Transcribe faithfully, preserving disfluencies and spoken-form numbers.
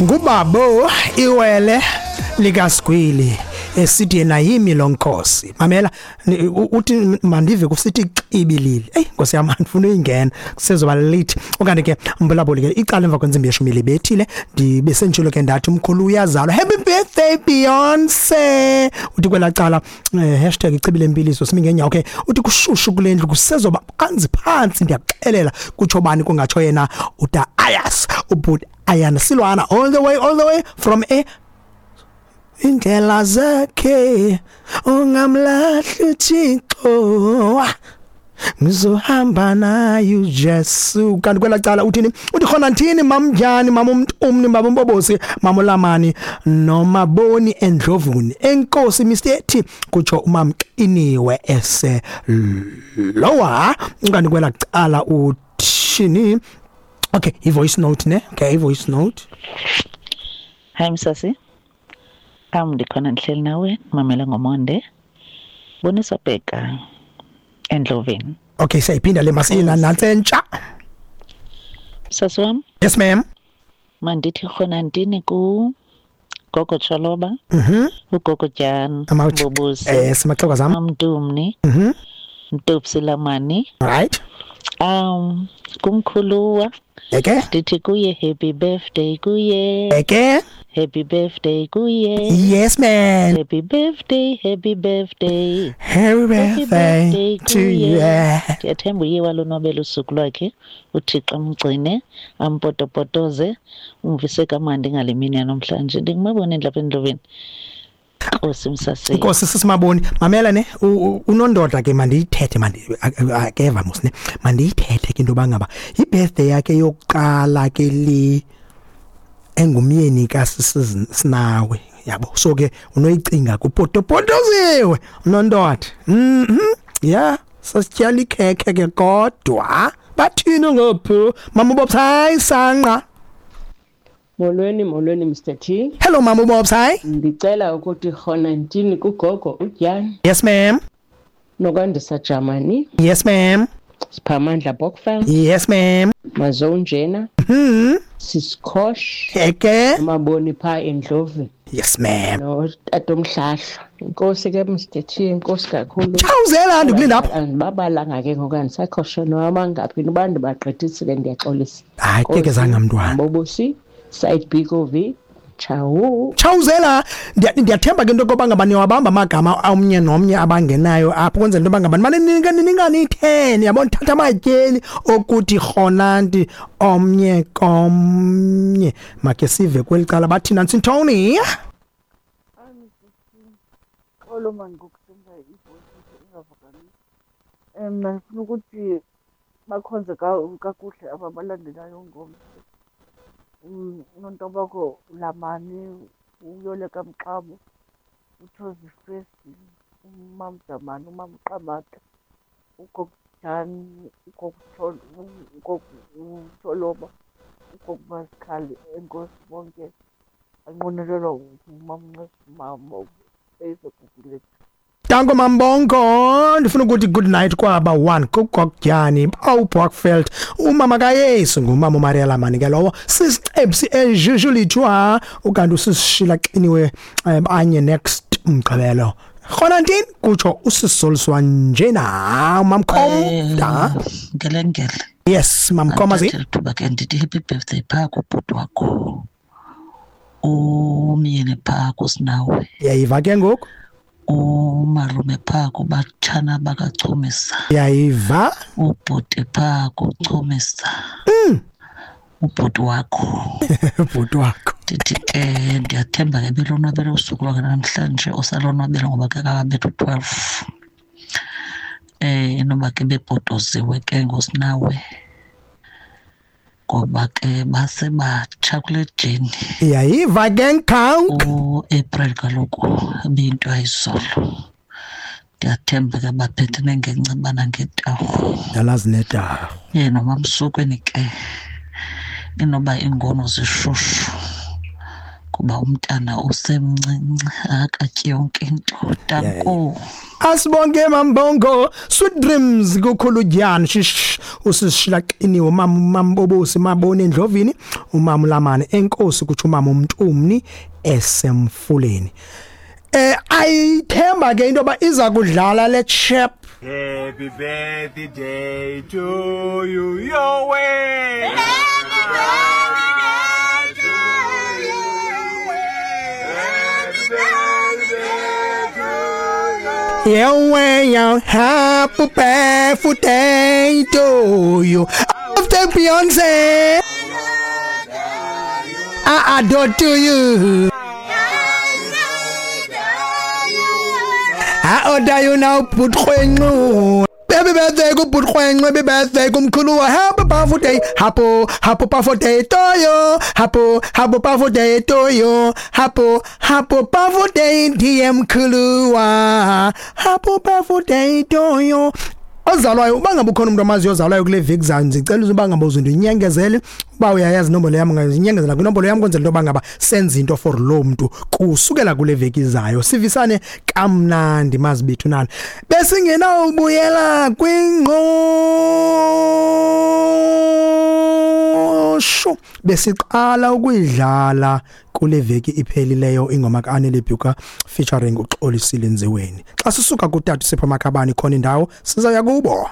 Ngubabo iwele likaSgwili esithi yena yimi lonkosi. Mamela, uthi mandive kusithi xibilili. Ey Nkosi yami, andifuna uyingena, kusezoba late. Okanye ke mbulabuli ke icala emva kwentsimbi yeshumi libethile, ndibe senditshilo ke ndathi umkhulu uyazalwa. Happy birthday Beyonce. Uthi kwela cala hashtag ichibile impiliso simi ngenyawo. Okay, uthi kushushu kule ndlu kusezoba phansi phansi, ndiyakuxelela kutsho bani kungatsho yena uta Ayas ubut Ayana Silwana all the way all the way from a indlela zakhe ungamlahli uThixo, ngizohamba naye uJesu. Kanti kwela cala uthini? Uthi khona nthini mamnjani mama umntumni baba umbobosi mama uLamani nomaboni endlovuni enkosi Mister T kutsho umamqiniwe ese lowa. Kanti kwela cala uthini? Okay, i voice note ne. Okay, i voice note. Hi Msasi. Am ndikhona ndihleli nawe mamela ngomonde. Bonisa bheka endloveni. Okay, siyiphinda le masina nantsentsha. Msasi wam. Yes ma'am. Mandithi khona ndini ku Gogo Choloba. Mhm. Ugogo Jan. Bobusi. Eh, simaxoka zam. Amdumni. Mhm. Mtopsilamani. Right. Um kumkhuluwa. Eke? Ndithi kuye happy birthday kuye. Eke? Happy birthday kuye. Yes man. Happy birthday, happy birthday. Happy birthday to you. Ndiyathemba uye walonwabela usuku lwakhe. uThixo amgcine, ampotopotoze, umvise kamandi ngale mini yanamhlanje. Ndingumabona lapha endloveni. Nkosi Msasi. Nkosi sisimaboni. Mamela ne unondoda ke mandiyithethe mandi akeva mos ne. Mandiyithethe ke into bangaba ibirthday yakhe yokuqala ke li engumyeni kaSinawe yabo. So ke unoyicinga kupotopotoziwe unondoda. Mhm. Yeah, sasityala ikhekhe ke kodwa bathini ngopho mama uBobs? Hayi sanqa. Molweni molweni Mister T. Hello mama uBobs. Hayi. Ndicela ukuthi khona ntini kugogo uJan. Yes ma'am. Nokwandisa Germany. Yes ma'am. Siphamandla Bokfam. Yes ma'am. Mazonjena. Mhm. Sisikhosh. Eke. Maboni pha endlovini. Yes ma'am. No tatomhlahla. Inkosi ke Mister T, inkosi kakhulu. Chawuzela ndikulinda apha. Andibabalanga ke ngoku andisakhoshe noma ngaphi abantu bagqithisile ndiyaxolisa. Hayi ke kezanga mntwana. Bobosi side B O V. Ciao. Chawuzela ndiyathemba ke into yokuba ngaba niwabamba amagama omnye nomnye abangenayo apho kwenzela into yoba ngaba nimane ten yabona thatha amatyeli okuthi rhonanti omnye komnye. Make sive kweli cala bathina Ntoni. Xolo mani ngokusenza ivoice ingavakali. Mna ndifuna ukuthi bakhonze kakuhle aba balandelayo ngomso. Unontobako Lamani, uYoleka Mxabo, uThozi Fesi, uMamJamani, uMamQamata, uGogo Jani, uGogo Tholoba, uGogo Masikhali. Enkosi bonke banqwenelelwa ngumamNcesi eyisegugulethu. Danko Mambongo, ndifuna ukuthi good night kwaba one kuGogjani, Bokfeld, umama kaYesu ngumama uMaria Lamani ke lowo, sisicebsi eJujulichwa, ukanti usisishila xiniwe anye next umgqibelo. Khona ntini kutsho usisoliswa njena mamkhom da ngelengele. Yes mamkhomazi. Thuba ke ndithi happy birthday pha kubhuti wakho. Umyeni pha kusinawe. Yayiva ke ngoku? Umalume pha kubatshana bakachumisa. Yayiva? Ubhuti pha kuchumisa. Mm. Ubhuti wakho. Ubhuti wakho. Ndithi ke ndiyathemba ke belonwabele usuku lwakhe namhlanje osalonwabele ngoba ke kakabethu twelve. Eh inoba ke bebhodoziwe ke ngosinawe. Ngoba ke basebatsha kule jeni. Yayiva ke nkhawuk. U-April kaloku ibiyinto ayizolo. Ndiyathemba ke baphethene ngenceba nangetahu. Ndalazi netahu. Yena mamsukweni ke inoba iingono zishushu. Kuba umntana usemncinci akatyi yonke into. Danko. Asibonge Mambongo, sweet dreams kukhulu shish usishilaqiniwe mama mambobosi mabone endlovini umama lamane enkosi kuthi umama umntumni esemfuleni. Eh ayithemba ke into ba iza kudlala le chap. Happy birthday to you, your way. Happy birthday to you. Happy birthday to you. Yeah, yeah, happy birthday to you. After Beyonce, I adore to you. I order you now, put khwenqu. Happy birthday ku put khwenqu, happy birthday kumkhulu. Happy birthday, happy happy birthday to you. Happy happy birthday to you. Happy happy birthday D M Khuluwa. Happy birthday to you. Ozalwayo uba ngabe ukhona umuntu amaziyo ozalwayo kule veki zayo, ndicela uba ngabe uzindinyengezele uba uyayazi inombolo yam, ungazinyengezela kwinombolo yam kwenzela into yoba ngaba senze into for lo mntu kusukela kule veki zayo. Sivisane kamnandi mazibethu nani. Besingenawubuyela kwingqosho besiqala ukuyidlala kule veki iphelileyo ingoma kaAnele Bhuka featuring uXolisile Nziweni. Xa sisuka kutata Sipho Makhabane khona indawo sizaya kubo.